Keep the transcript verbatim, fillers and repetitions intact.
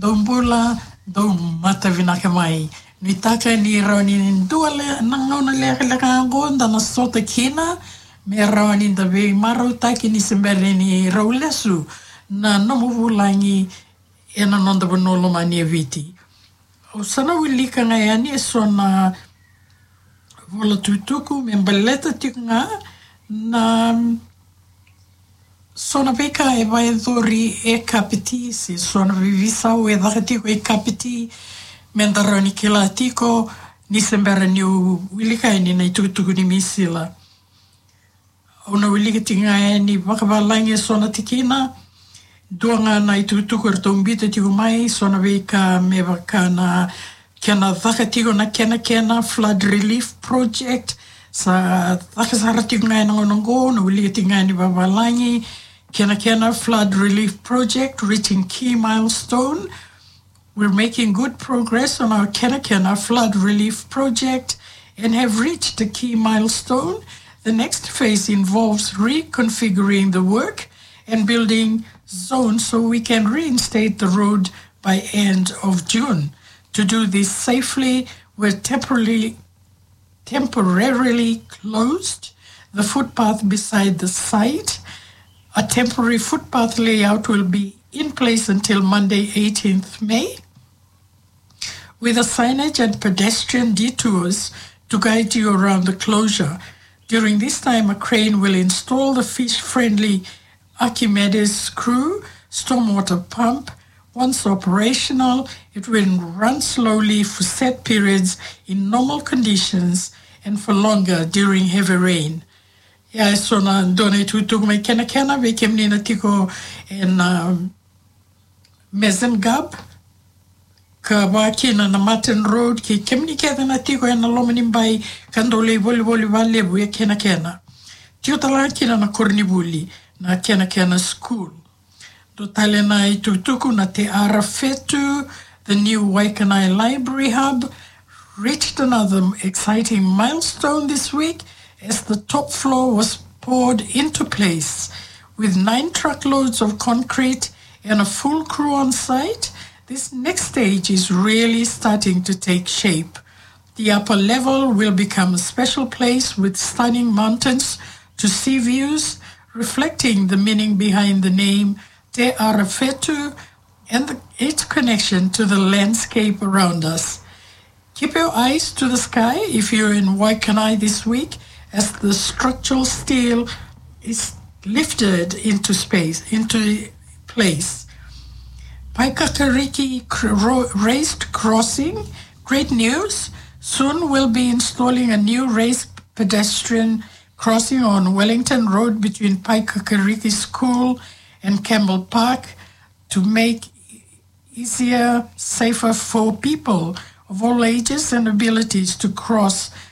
Dou bula, dou mata vinaka mai. Nuitaka ni rawa ni dua le, na gauna lekaleka oqo da na sota kina, me rawa ni da veimarautaki ni se bera ni rau lesu na nomu vulagi ena noda vanua lomani e Viti. Au sa na wilika ga yani eso na vola tukutuku me baleta tiko ga na so na veika e vakayacori e Kapiti, se so na veiveisau e caka tiko e Kapiti, me da rawa ni kila tiko ni se bera niu wilika yani na itukutuku ni misila. Au na wilika tiko ga yani vakavalagi eso na tikina. Dua ga na itukutuku eratou biuta tiko mai, so na veika me vaka na kena caka tiko na Kenakena Flood Relief Project. Sa caka sara tiko ga ena gauna oqo, na wilika tiko ga yani vakavalagi. Kenakena Flood Relief Project reaching key milestone. We're making good progress on our Kenakena Flood Relief Project and have reached a key milestone. The next phase involves reconfiguring the work and building zones so we can reinstate the road by end of June. To do this safely, we're temporarily temporarily closed the footpath beside the site. A temporary footpath layout will be in place until Monday, eighteenth May, with a signage and pedestrian detours to guide you around the closure. During this time, a crane will install the fish-friendly Archimedes screw stormwater pump. Once operational, it will run slowly for set periods in normal conditions and for longer during heavy rain. Ia, eso na dua na itukutuku mai Kenakena, vei kemuni na tiko ena, um, Mezengab, ka vaka kina na Martin Road, kei kemuni kece na tiko ena loma ni bai ka dau lai volivoli vakalevu e Kenakena. Tiko tale ga kina na koronivuli na Kenakena School. Dua tale na itukutuku na Te Ara Fetu, the new Waikanae Library Hub, reached another exciting milestone this week as the top floor was poured into place. With nine truckloads of concrete and a full crew on site, this next stage is really starting to take shape. The upper level will become a special place with stunning mountains to sea views, reflecting the meaning behind the name Te Ara Fetu and the, its connection to the landscape around us. Keep your eyes to the sky if you're in Waikanae this week, as the structural steel is lifted into space, into place. Paekakariki cr-, ro-, raised crossing. Great news. Soon we'll be installing a new raised pedestrian crossing on Wellington Road between Paekakariki School and Campbell Park to make easier, safer for people of all ages and abilities to cross